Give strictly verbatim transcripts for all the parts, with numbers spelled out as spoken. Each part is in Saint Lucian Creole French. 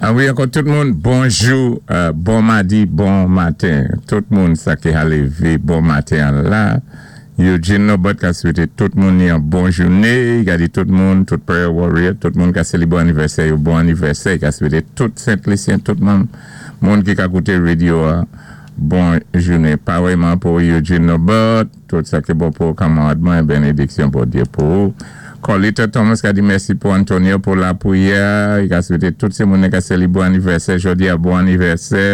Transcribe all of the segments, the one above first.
Ah wi, ankò tout moun, bonjou, euh, bon madi, bon maten. Tout moun sa ki a lévé, bon maten la. Eugene Nobert ka swété tout moun yon bon jouné, ka di tout moun, tout prayer warrior, tout moun ka sélibré anivèsè, yon bon anivèsè, ka swété tout Sent-Lisyen, tout moun, moun ki ka kouté radyo a, bon jouné. Parèyman pou Eugene Nobert, tout sa ki bon pou kanmarad mwen, bénédiksyon Bondyé pou ou. Colita Thomas ka di mèsi pou Antonio pou lapriyè, i ka swété tout sé moun ka sélibré anivèsè, jodi a bon anivèsè,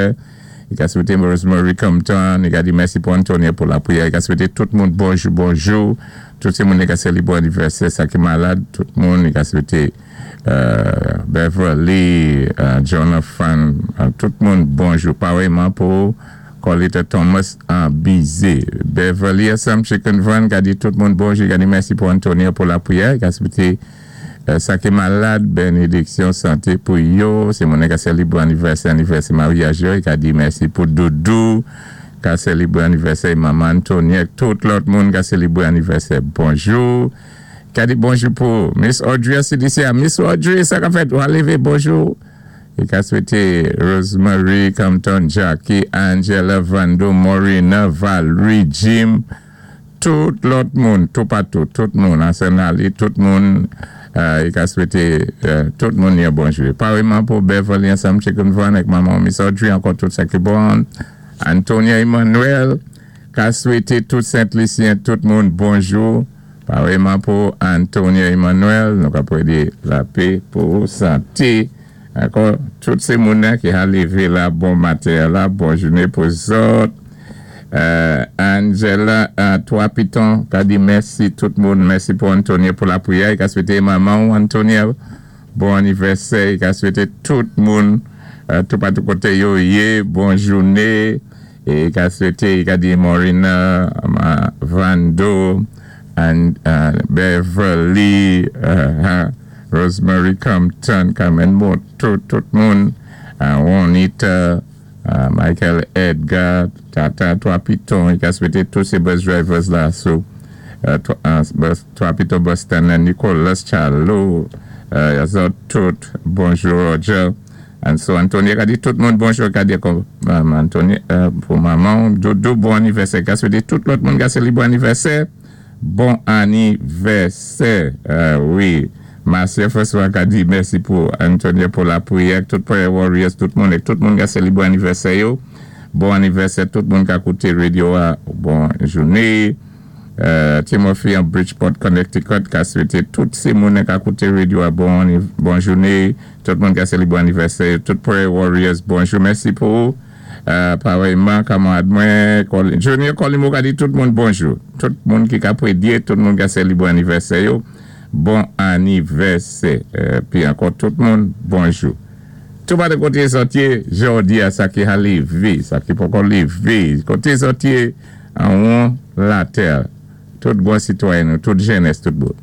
i ka swété Rosemary Compton, i ka di mèsi pou Antonio pou lapriyè, i ka swété tout moun bonjou, bonjou, tout sé moun ka sélibré anivèsè, sa ki malad, tout moun, i ka swété euh, Beverly, euh, Jonathan, euh, tout moun bonjou, parèyman pou Colita Thomas an bizé. Beverly Assam Chicken Van ka di tout moun bonjou, ka di mèsi pou Antonio pou lapriyè, ka swété euh, sa ki malad, bénédiksyon, santé pou yo, sé moun ka sélibré anivèsè, anivèsè maryaj yo, ka di mèsi pou Doudou, ka sélibré anivèsè maman Antonio, tout lòt moun ka sélibré anivèsè, bonjou. Ka di bonjou pou Miss Audrey C D C, Miss Audrey, sa ka fèt, ou a lévé, bonjou. I ka swété Rosemary Compton, Jackie, Angela, Vando, Morina, Valerie, Jim, tout lòt moun, tout patou, tout moun, Arsenali, tout moun, euh, i ka swété euh, tout moun yon bonjou. Parèyman pou Beverly ansanm Chicken Van ak maman Miss Audrey, ankò tout sa ki bon. Antonia Emmanuel, ka swété tout Sent-Lisyen, tout moun bonjou. Parèyman pou Antonia Emmanuel, nou ka pwédé lapè pou santé. Ankò, tout sé moun ki a lévé la, bon maten la, bon jouné pou zòt. Euh, Angela, euh, Trois Pitons, ka di mèsi tout moun, mèsi pou Antonio pou lapriyè, i ka swété maman Antonio, bon anivèsè, i ka swété tout moun, euh, tout patou koté yo yé, bon jouné, é i ka swété, i ka di Morina, Vando, and uh, Beverly, uh, Rosemary Compton, Carmen Moto, tout moun, uh, Juanita, uh, Michael Edgar, Tata Trois Pitons, i ka swété tout sé bus drivers la, so, uh, uh, bus, Trois Pitons Boston, Nicolas Charlo, uh, zòt tout, bonjou Roger, and so Antonio ka di tout moun bonjou, ka di um, Antonio, uh, pou maman, Doudou, bon anivèsè, ka swété tout lòt moun ka sélibré anivèsè, bon anivèsè, uh, wi. Marcia François ka di mèsi pou Antonio pou lapriyè, tout prayer warriors, tout moun, tout moun ka sélibré anivèsè yo. Bon anivèsè, tout moun ka kouté radyo a, bon jouné. Euh, Timothy an Bridgeport, Connecticut, ka swété tout sé moun ka kouté radyo a, bon, bon jouné. Tout moun ka sélibré anivèsè, tout prayer warriors, bonjou, mèsi pou euh, parèyman, kanmarad mwen, Junior Colimo ka di tout moun bonjou. Tout moun ki ka pwédyé, tout moun ka sélibré anivèsè yo. Bon anivèsè. Pi ankò tout moun, bonjou. Tout pa de koté zòt yé, jodi a sa ki a lévé, sa ki poko lévé, koté zòt yé an won latè. Tout bon sitwayen, tout jenès, tout bon.